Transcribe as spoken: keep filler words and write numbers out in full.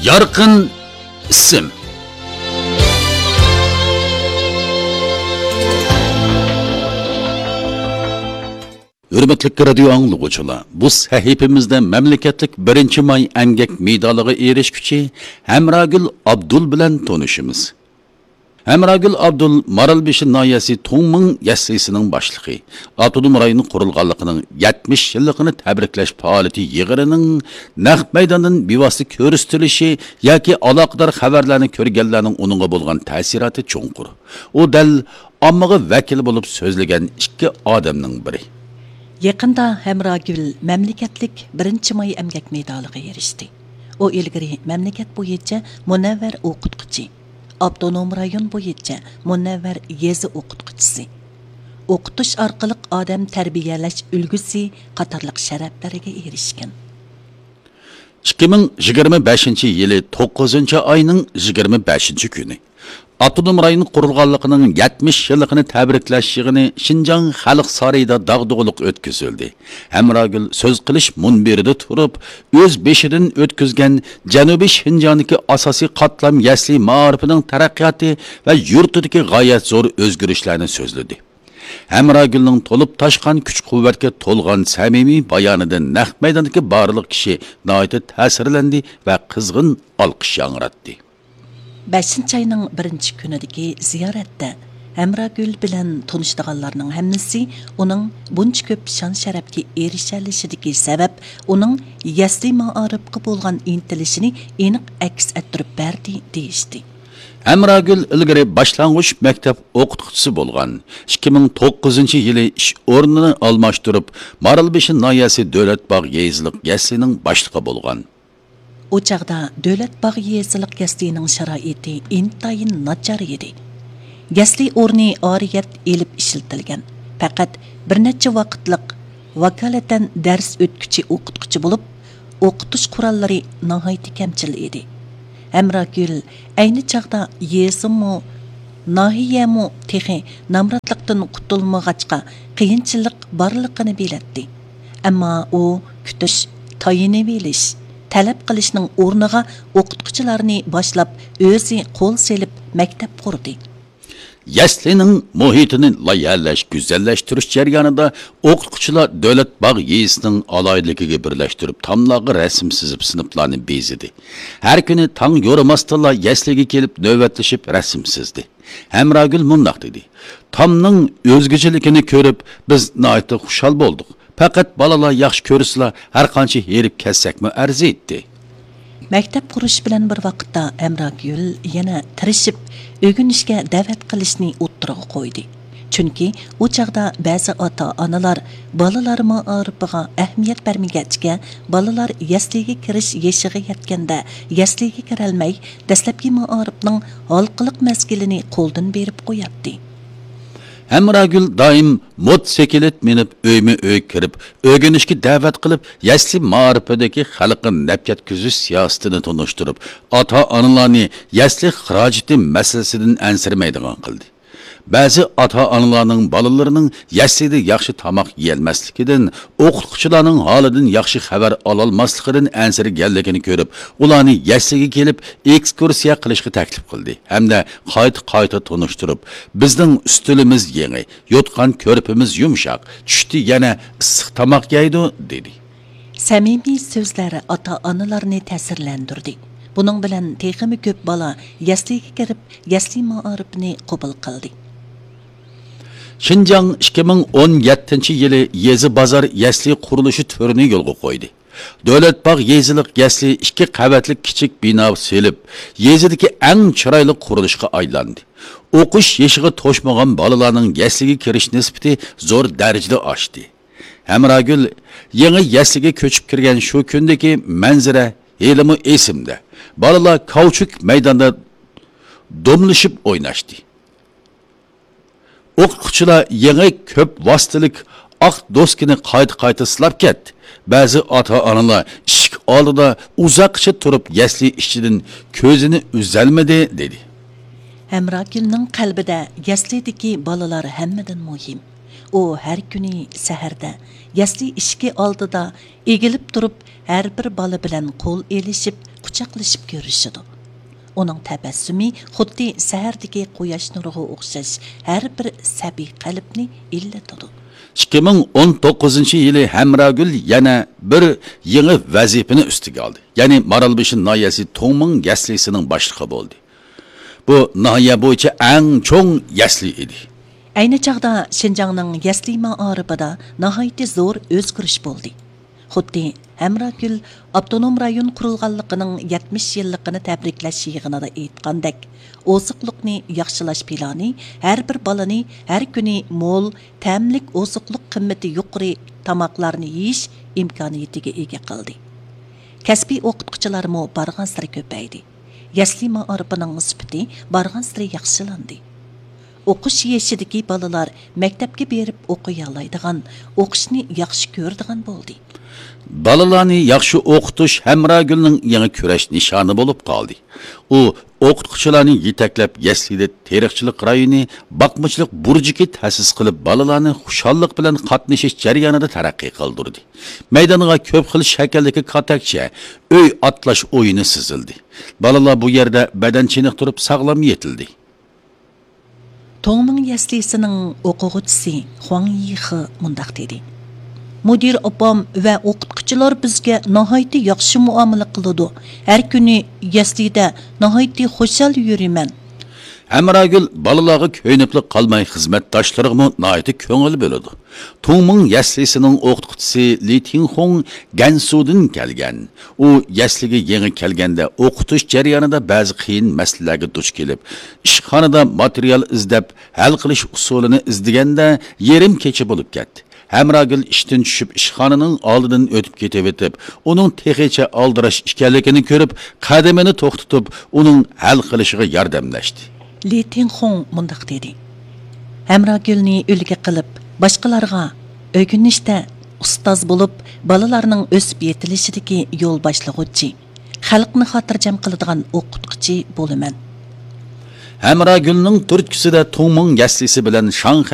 يارقىن ئىسىم. ھۆرمەتلىك رادىيو ئاڭلىغۇچىلار، بۇ سەھىپىمىزدە مەملىكەتلىك بىرىنچى ماي ئەمگەك مېدالىغا ئېرىشكۈچى ھەمراگۈل ئابدۇل بىلەن تونۇشىمىز. ھەمراگۈل ئابدۇل مارالبېشى ناھىيەسى تۇڭمىڭ يەسلىسىنىڭ باشلىقى. ئاپتونوم رايون قۇرۇلغانلىقىنىڭ يەتمىش يىللىقىنى تەبرىكلەش پائالىيىتى يىغىنىنىڭ نەق مەيداندىن بىۋاسىتە كۆرسىتىلىشى ياكى ئالاقىدار خەۋەرلەرنى كۆرگەنلەرنىڭ ئۇنىڭغا بولغان تەسىراتى چوڭقۇر. ئۇ دەل ئاممىغا ۋەكىل بولۇپ سۆزلىگەن ئىككى ئادەمنىڭ بىرى. يېقىندا ھەمراگۈل مەملىكەتلىك بىرىنچى ماي ئەمگەك مېدالىغا ئېرىشتى. ئۇ ئىلگىرى مەملىكەت بويىچە مۇنەۋۋەر ئوقۇتقۇچى، ئاپتونوم رايون بويىچە مۇنەۋۋەر يېزا ئوقۇتقۇچىسى، ئوقۇتۇش ئارقىلىق ئادەم تەربىيەلەش ئۈلگىسى قاتارلىق شەرەپلەرگە ئېرىشكەن. ئىككى مىڭ يىگىرمە بەشىنچى يىلى توققۇزىنچى ئاينىڭ يىگىرمە بەشىنچى كۈنى ئاپتونوم رايون قۇرۇلغانلىقىنىڭ يەتمىش يىللىقىنى تەبرىكلەش يىغىنى شىنجاڭ خەلق سارىيىدا داغدۇغىلىق ئۆتكۈزۈلدى. ھەمراگۈل سۆز قىلىش مۇنبىرىدە تۇرۇپ، ئۆز بېشىدىن ئۆتكۈزگەن جەنۇبىي شىنجاڭدىكى ئاساسىي قاتلام يەسلى مائارىپىنىڭ تەرەققىياتى ۋە يۇرتىدىكى غايەت زور ئۆزگىرىشلەرنى سۆزلىدى. ھەمراگۈلنىڭ تولۇپ تاشقان كۈچ-قۇۋۋەتكە تولغان سەمىمىي بايانىدىن نەق مەيداندىكى بارلىق كىشى ناھايىتى تەسىرلەندى ۋە قىزغىن ئالقىش ياڭراتتى. بەشىنچى ئاينىڭ بىرىنچى كۈنىدىكى زىيارەتتە ھەمراگۈل بىلەن تونۇشىدىغانلارنىڭ ھەممىسى ئۇنىڭ بۇنچە كۆپ شان-شەرەپكە ئېرىشەلىشىدىكى سەۋەب ئۇنىڭ يەسلى مائارىپقا بولغان ئىنتىلىشىنى ئېنىق ئەكس ئەتتۈرۈپ بەردى، دېيىشتى. ھەمراگۈل ئىلگىرى باشلانغۇچ مەكتەپ ئوقۇتقۇچىسى بولغان. ئىككى مىڭ توققۇزىنچى يىلى ئىش ئورنىنى ئالماشتۇرۇپ، مارالبېشى ناھىيەسى دۆلەت باغ يېزىلىق يەسلىنىڭ باشلىقى بولغان. ئۇ چاغدا دۆلەت باغ يېزىلىق يەسلىنىڭ شارائىتى ئىنتايىن ناچار ئىدى. يەسلى ئورنى ئارىيەت ئېلىپ ئىشلىتىلگەن، پەقەت بىر نەچچە ۋاقىتلىق ۋاكالىتەن دەرس ئۆتكۈچى ئوقۇتقۇچى بولۇپ، ئوقۇتۇش قوراللىرى ناھايىتى كەمچىل ئىدى. ھەمراگۈل ئەينى چاغدا يېزىمۇ، ناھىيەمۇ تېخى نامراتلىقتىن قۇتۇلمىغاچقا، قىيىنچىلىق بارلىقىنى بىلەتتى. ئەمما ئۇ كۈتۈش، تايىنىۋېلىش، تەلەپ قىلىشنىڭ ئورنىغا ئوقۇتقۇچىلارنى باشلاپ، ئۆزى قول سېلىپ مەكتەپ قۇردى. يەسلىنىڭ مۇھىتىنى لايىھەلەش، گۈزەللەشتۈرۈش جەريانىدا ئوقۇتقۇچىلار دۆلەت باغ يېزىسىنىڭ ئالاھىدىلىكىگە بىرلەشتۈرۈپ، تاملارغا رەسىم سىزىپ، سىنىپلارنى بېزىدى. ھەر كۈنى تاڭ يورۇماستىنلا يەسلىگە كېلىپ نۆۋەتلىشىپ رەسىم سىزدى. ھەمراگۈل مۇنداق دېدى: تامنىڭ ئۆزگىچىلىكىنى كۆرۈپ، بىز ناھايىتى خۇشال بولدۇق. پەقەت بالىلار ياخشى كۆرسىلا، ھەرقانچە ھېرىپ كەتسەكمۇ ئەرزىيتتى. مەكتەپ قۇرۇش بىلەن بىر ۋاقىتتا ھەمراگۈل يەنە تىرىشىپ ئۆگىنىشكە دەۋەت قىلىشنى ئوتتۇرىغا قويدى. چۈنكى ئۇ چاغدا بەزى ئاتا-ئانىلار بالىلار مائارىپىغا ئەھمىيەت بەرمىگەچكە، بالىلار يەسلىگە كىرىش يېشىغا يەتكەندە يەسلىگە كىرەلمەي، دەسلەپكى مائارىپنىڭ ھالقىلىق مەزگىلىنى قولدىن بېرىپ قوياتتى. ھەمراگۈل دائىم موتسىكلىت مىنىپ، ئۆيمۇ ئۆي كىرىپ، ئۆگىنىشكە دەۋەت قىلىپ، يەسلى مائارىپىدىكى خەلققە نەپ يەتكۈزۈش سىياسىتىنى تونۇشتۇرۇپ، ئاتا-ئانىلارنى يەسلى خىراجىتى مەسىلىسىدىن ئەنسىرىمەيدىغان قىلدى. بەزى ئاتا-ئانىلارنىڭ بالىلىرىنىڭ يەسلىدە ياخشى تاماق يېيەلمەسلىكىدىن، ئوقۇتقۇچىلارنىڭ ھالىدىن ياخشى خەۋەر ئالالماسلىقىدىن ئەنسىرىگەنلىكىنى كۆرۈپ، ئۇلارنى يەسلىگە كېلىپ ئېكسكۇرسىيە قىلىشقا تەكلىپ قىلدى ھەمدە قايتا-قايتا تونۇشتۇرۇپ، بىزنىڭ ئۈستىلىمىز يېڭى، يوتقان كۆرپىمىز يۇمشاق، چۈشتە يەنە ئىسسىق تاماق يەيدۇ، دېدى. سەمىمىي سۆزلەر ئاتا-ئانىلارنى تەسىرلەندۈردى. بۇنىڭ بىلەن تېخىمۇ كۆپ بالا يەسلىگە كىرىپ، يەسلى مائارىپىنى قوبۇل قىلدى. شىنجاڭ ئىككى مىڭ ئون يەتتىنچى يىلى يېزا بازار يەسلى قۇرۇلۇشى تۈرىنى يولغا قويدى. دۆلەت باغ يېزىلىق يەسلى ئىككى قەۋەتلىك كىچىك بىنا سېلىپ، يېزىدىكى ئەڭ چىرايلىق قۇرۇلۇشقا ئايلاندى. ئوقۇش يېشىغا توشمىغان بالىلارنىڭ يەسلىگە كىرىش نىسبىتى زور دەرىجىدە ئاشتى. ھەمراگۈل يېڭى يەسلىگە كۆچۈپ كىرگەن شۇ كۈندىكى مەنزىرە ھېلىمۇ ئېسىمدە. بالىلار كاۋچۇك مەيداندا دوملىشىپ ئويناشتى. ئوقۇتقۇچىلار يېڭى كۆپ ۋاسىتىلىك ئاق دوسكىنى قايتا-قايتا سىلاپ كەتتى. بەزى ئاتا-ئانىلار ئىشىك ئالدىدا ئۇزاققىچە تۇرۇپ، يەسلى ئىچىدىن كۆزىنى ئۈزەلمىدى، دېدى. ھەمراگۈلنىڭ قەلبىدە يەسلىدىكى بالىلار ھەممىدىن مۇھىم. ئۇ ھەر كۈنى سەھەردە يەسلى ئىشىكى ئالدىدا ئېگىلىپ تۇرۇپ، ھەر بىر بالا بىلەن قول ئېلىشىپ، قۇچاقلىشىپ كۆرۈشىدۇ. ئۇنىڭ تەبەسسۇمى خۇددى سەھەردىكى قۇياش نۇرىغا ئوخشاش ھەر بىر سەبىي قەلبنى ئىللىتىدۇ. ئىككى مىڭ ئون توققۇزىنچى يىلى ھەمراگۈل يەنە بىر يېڭى ۋەزىپىنى ئۈستىگە ئالدى. يەنى مارالبېشى ناھىيەسى تۇڭمىڭ يەسلىسىنىڭ باشلىقى بولدى. بۇ ناھىيە بويىچە ئەڭ چوڭ يەسلى ئېدى. ئەينى چاغدا شىنجاڭنىڭ يەسلى مائارىپىدا ناھايىتى زور ئۆزگىرىش بولدى. خۇددى ھەمراگۈل ئاپتونوم رايون قۇرۇلغانلىقىنىڭ يەتمىش يىللىقىنى تەبرىكلەش يىغىنىدا ئېيتقاندەك، ئوزۇقلۇقنى ياخشىلاش پىلانى ھەر بىر بالىنى ھەر كۈنى مول، تەملىك، ئوزۇقلۇق قىممىتى يۇقىرى تاماقلارنى يېيىش ئىمكانىيىتىگە ئىگە قىلدى. كەسپىي ئوقۇتقۇچىلارمۇ بارغانسېرى كۆپەيدى. يەسلى مائارىپىنىڭ سۈپىتى بارغانسېرى ياخشىلاندى. ئوقۇش يېشىدىكى بالىلار مەكتەپكە بېرىپ ئوقۇيالايدىغان، ئوقۇشنى ياخشى كۆرىدىغان بولدى. بالىلارنى ياخشى ئوقۇتۇش ھەمراگۈلنىڭ يېڭى كۈرەش نىشانى بولۇپ قالدى. ئۇ ئوقۇتقۇچىلارنى يېتەكلەپ، يەسلىدە تېرىقچىلىق رايونى، باقمىچىلىق بۇرجىكى تەسىس قىلىپ، بالىلارنى خۇشاللىق بىلەن قاتنىشىش جەريانىدا تەرەققىي قىلدۇردى. مەيدانغا كۆپ خىل شەكىلدىكى كاتەكچە، ئۆي ئاتلاش ئويۇنى سىزىلدى. بالىلار بۇ يەردە بەدەن چېنىقتۇرۇپ، ساغلام يېتىلدى. توڭمىڭ يەسلىسىنىڭ ئوقۇغۇچىسى خۇاڭ يىخې مۇنداق دېدى: مۇدىر ئاپام ۋە ئوقۇتقۇچىلار بىزگە ناھايىتى ياخشى مۇئامىلە قىلىدۇ. ھەر كۈنى يەسلىدە ناھايىتى خۇشال يۈرىمەن. ھەمراگۈل بالىلارغا كۆيۈنۈپلا قالماي، خىزمەتداشلىرىغىمۇ ناھايىتى كۆڭۈل بۆلىدۇ. تۇڭمىڭ يەسلىسىنىڭ ئوقۇتقۇچىسى لى تىڭخۇڭ گەنسۇدىن كەلگەن. ئۇ يەسلىگە يېڭى كەلگەندە ئوقۇتۇش جەريانىدا بەزى قىيىن مەسىلىلەرگە دۇچ كېلىپ، ئىشخانىدا ماتېرىيال ئىزدەپ، ھەل قىلىش ئۇسۇلىنى ئىزدىگەندە يېرىم كېچە بولۇپ كەتتى. ھەمراگۈل ئىشتىن چۈشۈپ، ئىشخانىنىڭ ئالدىدىن ئۆتۈپ كېتىۋېتىپ، ئۇنىڭ تېخىچە ئالدىراش ئىكەنلىكىنى كۆرۈپ، قەدىمىنى توختىتىپ، ئۇنىڭ ھەل قىلىشىغا ياردەملەشتى. لى تىڭخۇڭ مۇنداق دېدى: ھەمراگۈلنى ئۈلگە قىلىپ، باشقىلارغا ئۆگىنىشتە ئۇستاز بولۇپ، بالىلارنىڭ ئۆسۈپ يېتىلىشىدىكى يول باشلىغۇچى، خەلقنى خاتىرجەم قىلىدىغان ئوقۇتقۇچى بولىمەن. ھەمراگۈلنىڭ تۈرتكىسىدە تۇڭمىڭ يەسلىسى بىلەن شاڭخەي